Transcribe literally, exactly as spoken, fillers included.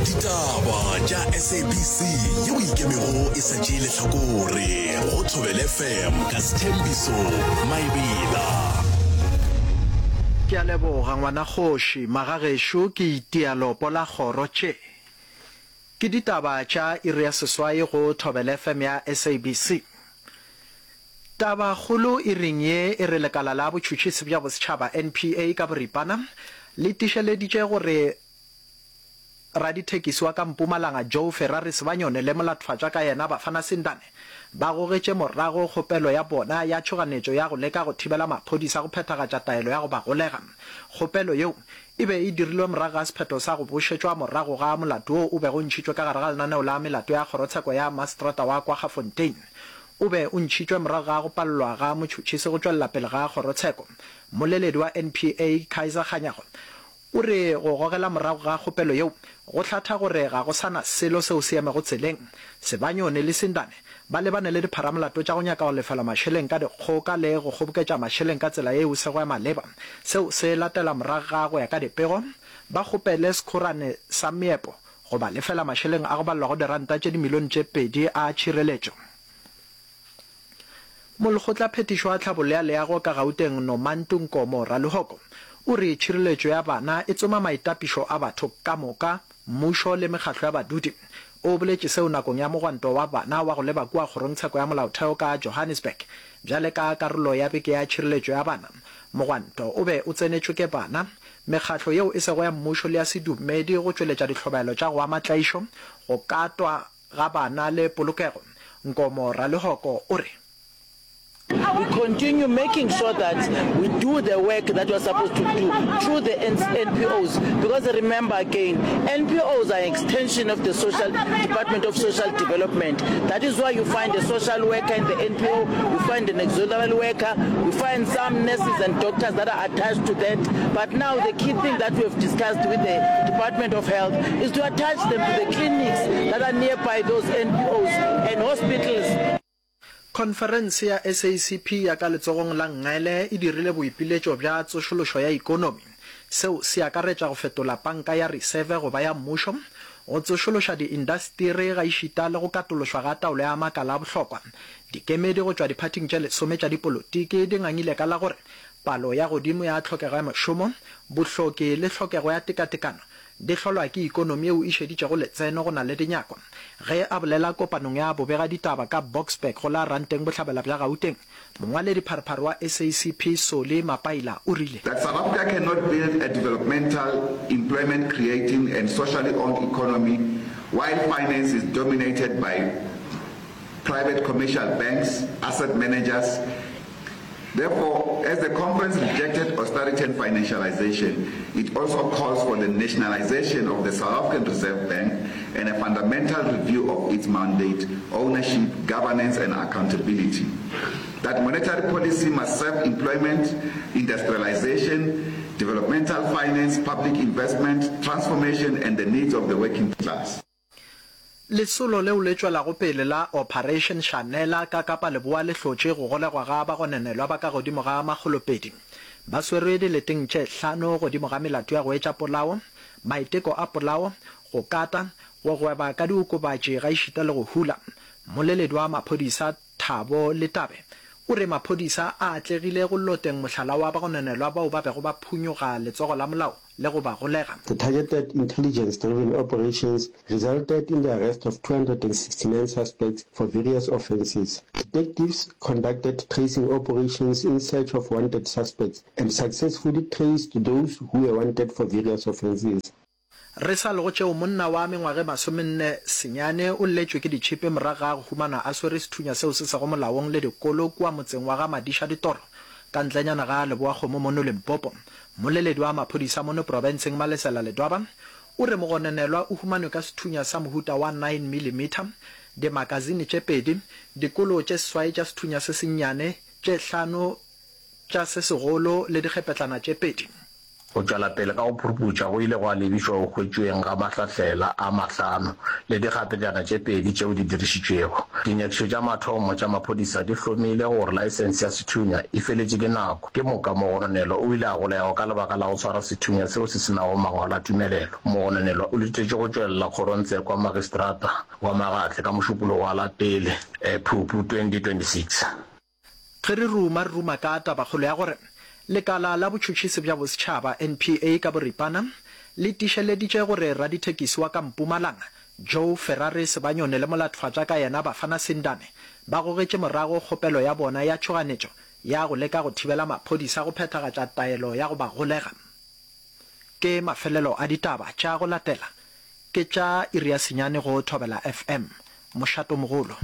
Ditaba tša S A B C yeo ikemego e sa tšee lehlakore go Thobela F M ka Sthembiso Maebela. Ke a leboga ngwanakgoši, magagešo ke itia lopo la kgoro tše. Ke ditaba tša iri ya seswai go Thobela F M ya S A B C. Tabakgolo iring ye e re lekala la botšhotšhisi bja bosetšhaba N P A ka boripana le tišeleditše gore radithekisi wa ka Mpumalanga Joe Ferrari Sibanyoni le molatfatšwa ka yena Bafana Sindane ba gogetše morago kgopelo ya bona ya tšhoganetšo ya go leka go thibela maphodisa go phethagatša taelo ya go ba golega. Kgopelo yeo e be e dirilwe morago ga sephetho sa go bošetšwa morago ga molato wo o bego o ntšhitšwe ka gare ga lenaneo la melato ya kgorotsheko ya maseterata wa Kwaggafontein. O be o ntšhitšwe morago ga go palelwa ga motšhotšhisi go tšwelela pele ga kgorotsheko. Mmoleledi wa N P A Kaizer Kganyago o re go gogela morago ga kgopelo yeo go hlatha gore ga go sa na selo seo se emego tseleng. Sibanyoni le Sindane ba lebane le dipharamolato tša go nyaka go lefela mašeleng ka dikgoka le go kgoboketša mašeleng ka tsela yeo e sego ya maleba. Seo se latela morago ga go ya ka dipego ba kgopele sekhorane sa meepo go ba lefela mašeleng a go balelwa go diranta tše dimilione tše pedi a tšhireletšo. Molekgotlaphethiši wa Tlhabollo ya Leago ka Gauteng Nomantu Nkomo Ralehoko o re tšhireletšo ya bana e tsoma maitapišo a batho ka moka, mmušo le mekgatlo ya badudi. O boletše seo nakong ya mogwanto wa bana wa go leba kua kgorongtsheko ya molaotheo ka Johannesburg bjale ka karolo ya beke ya tšhireletšo ya bana. Mogwanto o be o tsenetšwe ke bana, mekgatlo yeo e sego ya mmušo le ya sedumedi go tšweletša dihlobaelo tša go ama tlaišo, go katwa ga bana le polokego. Nkomo Ralehoko o re We continue making sure that we do the work that we're supposed to do through the N P Os. Because remember again, N P Os are an extension of the social Department of Social Development. That is why you find a social worker in the N P O, you find an auxiliary worker, you find some nurses and doctors that are attached to that. But now the key thing that we have discussed with the Department of Health is to attach them to the clinics that are nearby those N P Os and hospitals. Khonferense ya S A C P ya ka letsogong la nngele e dirile boipiletšo bja tsošološo ya ikonomi. Seo se akaretša go fetola panka ya reseve go ba ya mmušo, go tsošološa diindasteri gaešita le go katološwa ga taolo ya makala a bohlokwa. Dikemedi go tšwa diphathing tše lesome tša dipolotiki di ngangile ka la gore palo ya godimo ya tlhokego ya mešomo, bohloki le tlhokego ya tekatekano di hlolwa ke ikonomi yeo e šeditšego letseno go na le dinyakwa. Ge a bolela kopanong ya bobegaditaba ka Boksburg go la Ranteng Bohlabela bja Gauteng, mongwaledipharephare wa S A C P Solly Mapaila o rile That South Africa cannot build a developmental, employment creating and socially owned economy while finance is dominated by private commercial banks, asset managers. Therefore, as the conference rejected austerity and financialization, it also calls for the nationalization of the South African Reserve Bank and a fundamental review of its mandate, ownership, governance and accountability. That monetary policy must serve employment, industrialization, developmental finance, public investment, transformation and the needs of the working class. Lesolo leo le tšwelago pele la Operation Shanela ka Kapa Leboa le hlotše go golegwa ga bagononelwa ba ka godimo ga makgolopedi. Ba swerwe dileteng tše hlano godimo ga melato ya go etša polao, maiteko a polao, go kata, go gweba ka diokobatši gaešita le go hula. Mmoleledi wa maphodisa Thabo Letabe o re maphodisa a atlegile go loteng mohlala wa bagononelwa bao ba bego ba phunyoga letsogo la molao le go ba golega. The targeted intelligence-driven operations resulted in the arrest of two hundred sixty-nine suspects for various offences. Detectives conducted tracing operations in search of wanted suspects and successfully traced those who were wanted for various offences. Re sa le go tšeo, monna wa mengwaga e masomenne senyane o lletšwe ke ditšhipi morago ga go humanwa a swere sethunya seo se sego molaong le dikolo kua motseng wa ga Madiša Ditoro ka ntlenyana ga Lebowakgomo mono Limpopo. Mmoleledi wa maphodisa mono profenseng Malesela Ledwaba o re mogononelwa o humanwe ka sethunya sa mohuta wa nine millimeter, dimakasine tše pedi, dikolo tše seswai tša sethunya se sennyane, tše hlano tša se segolo le dikgepetlana tše pedi. Go tšwela pele ka go phuruputša go ile gwa lebišwa go hwetšweng ga mahlahlela a mahlano le dikgapetšana tše pedi tšeo di dirišitšwego. Dinyakišišo tša mathomo tša maphodisa di hlomile gore laesense ya sethunya e feletše ke nako. Ke moka mogononelwa o ile a golegwa ka lebaka la go swara sethunya seo se se nago mangwalo a tumelelo. Mogononelwa o letetšwe go tšwelela kgorongtsheko ya magistrata wa Magatle ka Mošupologo wa la pele Phupu twenty twenty six Ge re ruma, re ruma ka tabakgolo ya gore Lekala la Botšhotšhisi bja Bosetšhaba, N P A ka boripana, le tiišeleditše gore radithekisi wa ka Mpumalanga, Joe Ferrari Sebanyoni le molatfatša ka yena Bafana Sindane ba gogetše morago kgopelo ya bona ya tšhoganetšo ya go leka go thibela maphodisa go phethagatša taelo ya go ba golega. Ke mafelelo a ditaba tša go latela ke tša iri ya senyane go Thobela F M. Mošatomogolo.